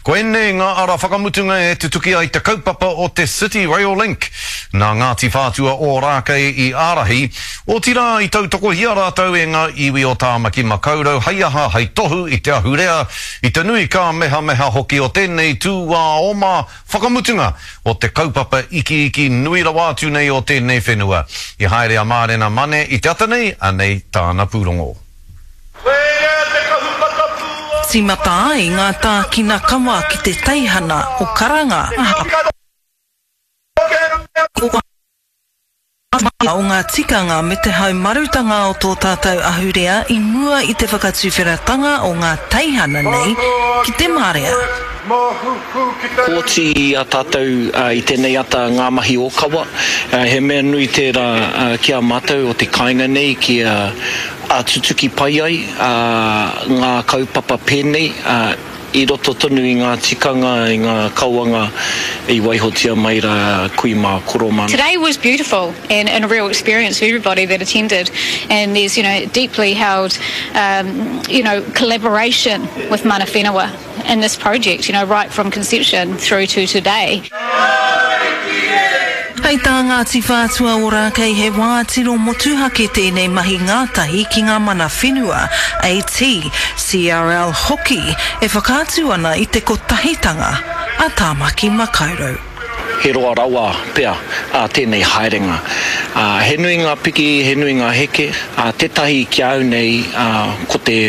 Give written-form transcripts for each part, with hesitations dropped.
Ko ēnei ngā ara whakamutunga e tutuki ai te kaupapa o te City Rail Link. Nā Ngāti Whātua Ōrākei i ārahi, otirā i tautokohia rātou e ngā iwi o Tāmaki Makaurau hei aha, hei tohu i te ahurea, i te nui kāmehameha hoki o tēnei tūāoma whakamutunga o te kaupapa ikiiki nui rawa atu nei o tēnei whenua. I haere a Mārena Mane i te ata nei, anei tāna pūrongo. Tīmata ai ngā tākina kawa ki te teihana o Karanga. O ngā tikanga me te haumarutanga o tō tātou ahurea i mua i te whakatuwheratanga o ngā teihana nei ki te marea. Kōti i a tātou i tēnei ata ngā mahi ōkawa. He mea nui tērā ki a mātou o te kāinga nei kia tutuki pai ai ngā kaupapa pēnei. I roto tonu i ngā tikanga, i ngā kawanga i waihotia mai rā kui mā, koro mā. Today was beautiful and and a real experience for everybody that attended and there's you know deeply held um you know collaboration with mana whenua in this project you know right from conception through to today. Hei tā Ngāti Whātua Ōrākei he wā tino motuhake tēnei mahi ngātahi ki ngā mana whenua, AT, CRL hoki, e whakaatu ana i te kotahitanga a Tāmaki Makaurau. He roa rawa pea tēnei haerenga. He nui ngā piki, he nui ngā heke. Tētahi ki a au nei ko te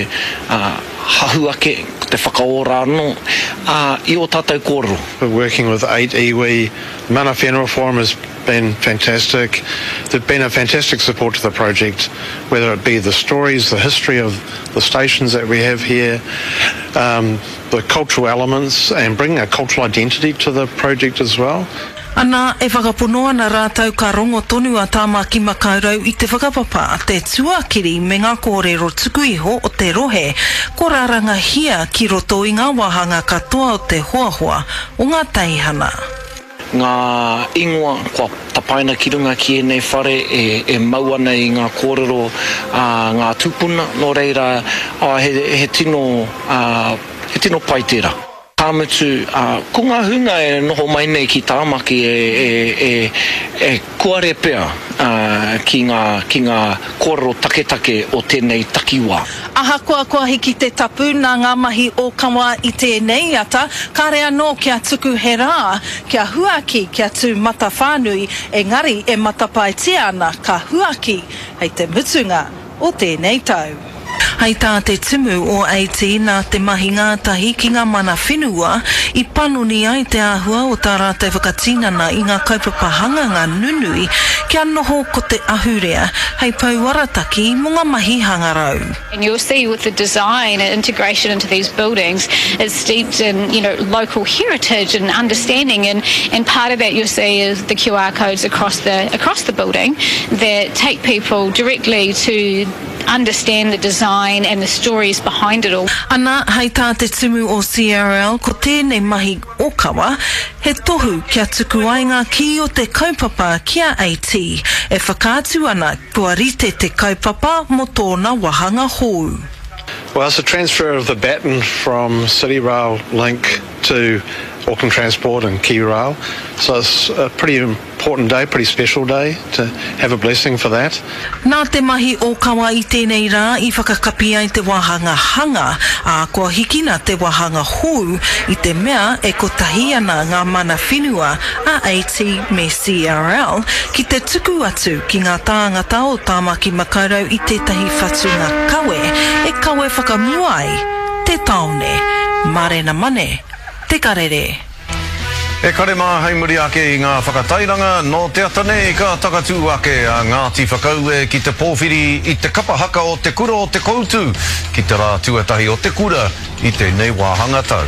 hahu ake, ko te whakaora anō i ō tātou kōrero. Working with 8 iwi, Mana Whenua Forum has been fantastic. They've been a fantastic support to the project, whether it be the stories, the history of the stations that we have here, um, the cultural elements and bringing a cultural identity to the project as well. Ana, e whakapono ana rātou ka rongo tonu a Tāmaki Makaurau i te whakapapa, te tuakiri me ngā kōrero tuku iho o te rohe, ko rarangahia ki roto i ngā wāhanga katoa o te hoahoa o ngā teihana. Ngā ingoa kua tapaina ki runga ki ēnei whare e mau ana i ngā kōrero a ngā tūpuna, nō reira, he tino, he tino pai tērā. Ka mutu, ko ngā hunga e noho mai nei ki Tāmaki e kuare pea ki ngā, ki ngā kōrero taketake o tēnei takiwā. Ahakoa kua hiki te tapu nā ngā mahi ōkawa i tēnei ata, kāre anō kia tuku he rā, kia huaki, kia tū matawhānui, engari e matapaetia ana ka huaki hei te mutunga o tēnei tau. Hei tā te tumu o AT nā te mahi ngātahi ki ngā mana whenua i panoni ai te āhua o tā rātou whakatinana i ngā kaupapa hanganga nunui kia noho ko te ahurea hei pou arataki mō ngā mahi hangarau. And you'll see with the design and integration into these buildings it's steeped in you know local heritage and understanding and and part of that you'll see is the QR codes across the across the building that take people directly to understand the design and the stories behind it all. Ana, hei tā te tumu o CRL, ko tēnei mahi ōkawa, he tohu kia tuku ai ngā kī o te kaupapa ki a AT, e whakaatu ana kua rite te kaupapa mō tōna wāhanga hou. Well, it's a transfer of the baton from City Rail Link to Auckland Transport and KiwiRail, so it's a pretty Important day, pretty special day to have a blessing for that. Nā te mahi ōkawa i tēnei rā i whakakapi ai te wāhanga hanga, ā, kua hikina te wāhanga hou i te mea e kotahi ana ngā mana whenua a AT me CRL ki te tuku atu ki ngā tāngata o Tāmaki Makaurau i tētahi whatunga kawe e kawe whakamua ai te tāone. Mārena Mane, Te Karere. E kare mā hei muri ake i ngā whakatairanga, nō te ata nei ka takatū ake a Ngāti Whakaue ki te pōwhiri i te kapa haka o Te Kura o Te Koutu ki te rā tuatahi o te kura i tēnei wāhanga tau.